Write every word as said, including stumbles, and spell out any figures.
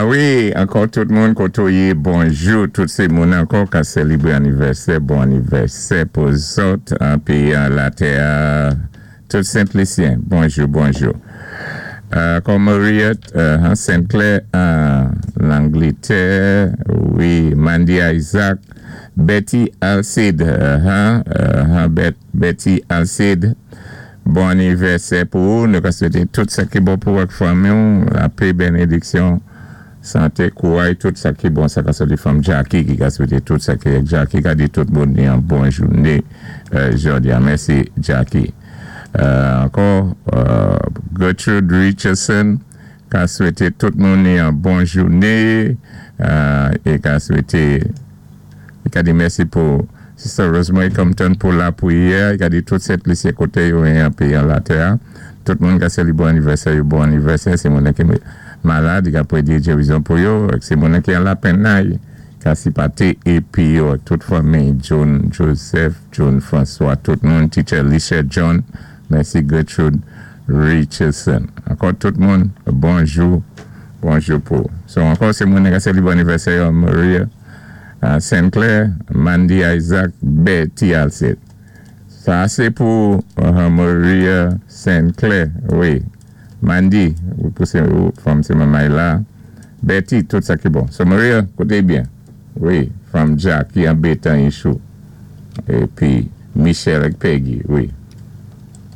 Wi, ankò tout moun koté ou yé, bonjou, tout sé moun ankò ka sélébwé anivèsè, bon anivèsè pou zòt, pi latè, tout Sent-Lisyen, bonjou, bonjou. Ankò Maria uh, Saint-Clair, Langletè, wi, Mandy Isaac, Betty Alcide, uh, uh, Betty Alcide, bon anivèsè pou ou, nou ka swété tout sa ki bon pou ak fanmi, lapè, bénédiksyon, santé, kouway, tout sa ki bon, sa ka soti from Jackie ki ka swété tout sa ki Jackie ka di tout moun ni an bon jouné euh, jòdi a. Mèsi Jackie. Euh, ankò, euh, Gertrude Richardson ka swété tout moun ni an bon jouné é ka swété i ka di mèsi pou Sister Rosemary Compton pou lapwiyè, i ka di tout Sent-Lisyen koté yo an péyi an latè. Tout moun ka sélébwé anivèsè, yo bon anivèsè, sé moun ki malad, i ka pwédé gérizon pou yo, sé moun ki an lapenn ka sipaté épi yo, tout fanmi, John Joseph, John François, tout moun, Teacher Alicia John, mèsi Gertrude Richardson. Ankò tout moun, bonjou, bonjou pou. So ankò sé moun ka sélébwé anivèsè yo, Maria uh, Saint-Clair, Mandy Isaac, Betty Alcide. Sa sé pou uh, Maria Saint-Clair, wi. Mandy, ou pou sé ou from sé manmay la. Betty, tout sa ki bon. So Maria, kouté byen. Wi, from Jackie an Bétan Ichou. Épi Michel ak Peggy, wi.